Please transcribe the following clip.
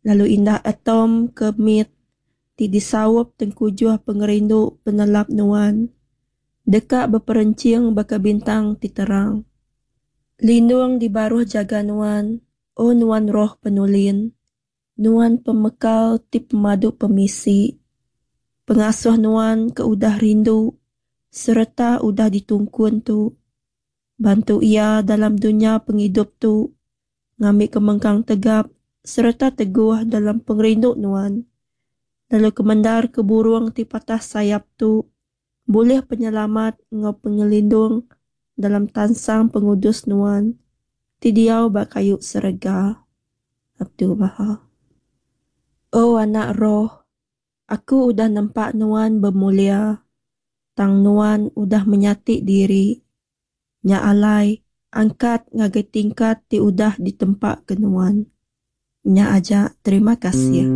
Lalu indah atom ke mit ti disaup tengkujuh pengerindu penelap Nuan, deka beperenching baka bintang ti terang. Lindung di baruh jaga Nuan, O Nuan Roh Penulin, Nuan Pemekal ti pemadu pemisi, Pengasuh Nuan ke udah rindu sereta udah ditungkun tu. Bantu iya dalam dunya pengidup tu ngambika mengkang tegap sereta teguh dalam pengerindu Nuan, lalu kemendarka burung ti patah sayap tu bulih penyelamat enggau pengelindung dalam tansang pengudus Nuan ti diau ba kayu serega. Abdul-Baha. O anak roh, Aku udah nempa nuan bemulia, tang nuan udah menyati diri. Nya alai, angkat ngagai tingkat ti udah ditempaka nuan. Nya aja, terima kasih.